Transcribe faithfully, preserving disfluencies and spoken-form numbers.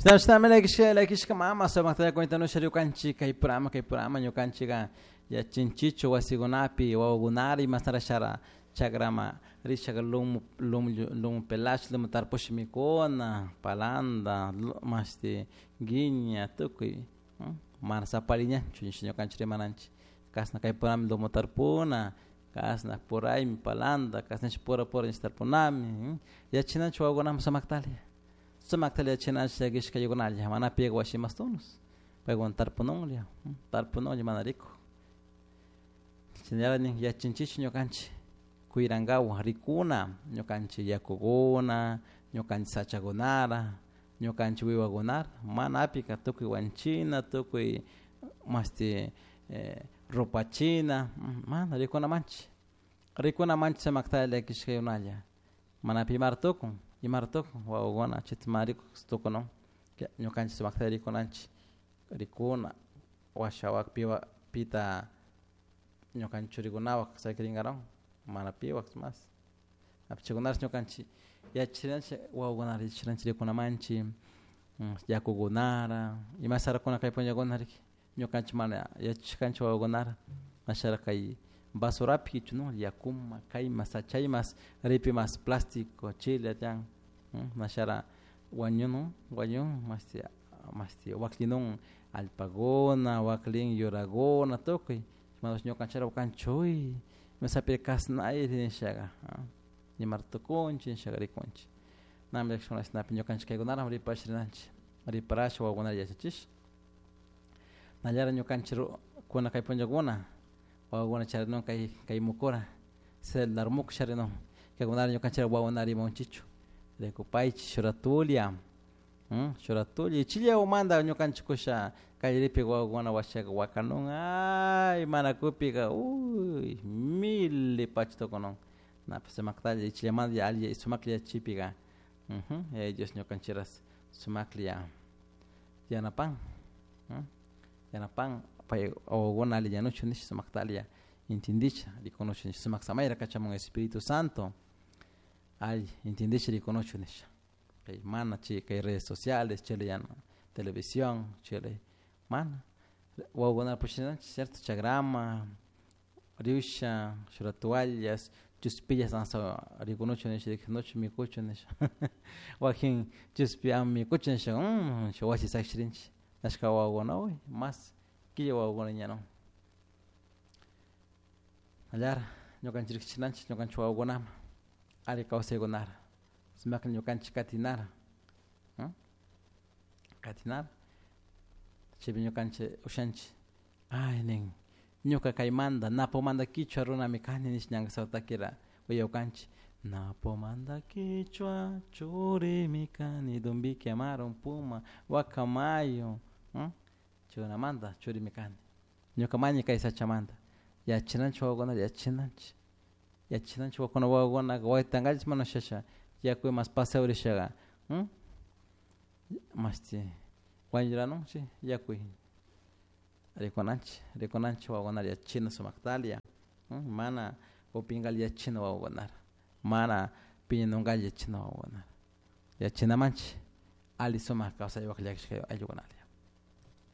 Shinami mama sumakta cuentanusha ñukanchik kay programa kay programa ñukanchika yachinchichu wasikunapi wawakunara imashnarashara chakrama rishaka lumu lumu lumu pelash lumu tarpush mikuna palanta mashti guiña tukuy mana sapariñanchu ñukanchik rimananchik kashna kay programa lumu tarpuna kashna puraymi palanta kashna pura pura tarpunami yachinanchik wawakunaman sumaktalla sumaktalla yachinanchik llakishkaykunalla mana piga washimastunus paykuna tarpununlla tarpununlla mana rikuk shinallara nin yachinchik ñukanchik kuyrankawan rikuna ñukanchik yakukuna ñukanchik sachakunara ñukanchik wiwakunara mana apika tukuy wanchina tukuy mashti rupachina mana rikunamanchik rikunamanchik sumaktalla llakishkaykunalla mana pi imara tukun imara tukun wawakuna chayta mana rikuk tukunun ñukanchik sumakta rikunanchik rikuna washa piwa pita ñukanchik churikunawan sakirinkarakun mana piwak mas chaykunash ñukanchik yachinanchik wawakunata yachinanchik rikunamanchik yakukunara ima sarakuna kay punllakuna riki ñukanchik mana yachashkanchik wawakunara ashara kay basurapi kichunun yakuma kayma sachaymas ripi mas plástico chile tiyan ashara wañunun wañun mashti mashti waklinun allpakuna waklin yurakuna tukuy mana ñukanchik kanchik uy mesapika kashnayri nishaka imara tukunchik nishaka rikunchik nami llakishkuna ñukanchik kaykunara ripash rinanchik riparash wawakunata yachachish nallara ñukanchik kuna kay punllakuna wawakuna charinun kay kay mukura celular muku charinun kaykunara ñukanchik wawakuna rimanchichu rikupaychik shuratulla shuratulla ichilla ñukanchik kusha kallaripi wawakuna washaka wakanun ay mana kupika uy mili pacha tukunun napish sumaktalla ichillamanta alli sumaklla yachachipika Yaya Dios ñukanchikras sumaklla yanapan yanapan pay wawakuna alli yanuchun nish sumakta alli entendisha rikunuchun nish sumak samayra kachamun Espíritu Santo alli entendisha rikunuchun nisha kay mana chay kay redes sociales chayla televisión chayla mana wawakunata pushananchik cierto chakrama risha shuk toallas chushpillas rikunuchun nisha rikunuchun mikuchun nisha wakin chushpi ama mikuchun nisha shuk wasi sakisharinchik ashka wawakuna uy mas killa wawakuna ñanun allara ñukanchik rikshinanchik ñukanchik wawakunaman alli kawsaykunara sumaklla ñukanchik katinara katinara chaypi ñukanchik ushanchik ay nin ñuka kaymanta Napomanta kichwa runami kani nish ñanka takira uyakanchik Napomanta kichwa churimi kani Dumbiki Amaru Puma Guacamayo chaykunamanta churimi kani ñuka mañi kay sachamanta yachananchik wawakunata yachananchik yachananchik wawakuna wawakunaka waytankallish mana ushasha yaku mas paseo rishaka mashti wañuranunchik yakuy rikunanchik rikunanchik wawakunata yachachina sumaktalla mana upinkalla yachachina wawakunata mana piñanunkalla yachachina wawakunata yachachinamanchik alli sumak kawsaypak llakishka ayllukunalla.